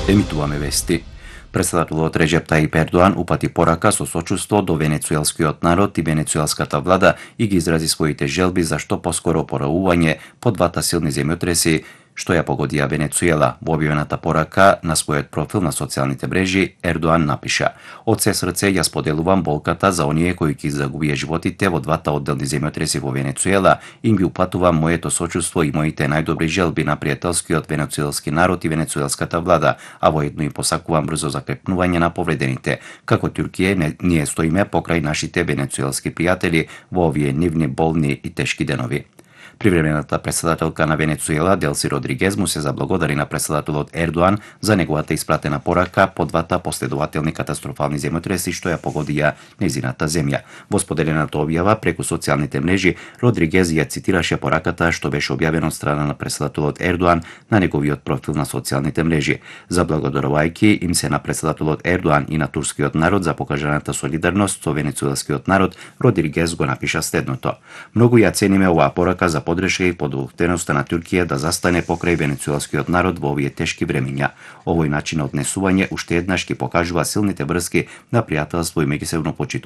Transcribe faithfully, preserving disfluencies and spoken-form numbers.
Емитуваме вести. Председателот Реџеп Тајип Ердоан упати порака со сочувство до венецуелскиот народ и венецуелската влада и ги изрази своите желби за што поскоро опоравување по двата силни земјотреси што ја погодија Венецуела. Во објавената порака на својот профил на социјалните мрежи Ердоан напиша: "Од се срце ја споделувам болката за оние кои ги загубија животите во двата одделни земјотреси во Венецуела и им ги упатувам моето сочувство и моите најдобри желби на пријателскиот венецуелски народ и венецуелската влада, а воедно им посакувам брзо закрепнување на повредените. Како Туркија, не, ние стоиме покрај нашите венецуелски пријатели во овие нивни болни и тешки денови." Привремената председателка на Венецуела Делси Родригез му се заблагодари на председателот Ердоан за неговата испратена порака по двата последователни катастрофални земјотреси што ја погодија нејзината земја. Во споделената објава преку социјалните мрежи, Родригез ја цитираше пораката што беше објавена од страна на председателот Ердоан на неговиот профил на социјалните мрежи. Заблагодарувајќи им се на председателот Ердоан и на турскиот народ за покажаната солидарност со венецуелскиот народ, Родригез го напиша следното: "Многу ја цениме оваа порака за подршка и подготвеноста на Туркија да застане покрај венецуелскиот народ во овие тешки времиња. Овој начин на однесување уште еднаш ќе покажува силните врски на пријателство и меѓусебно почитување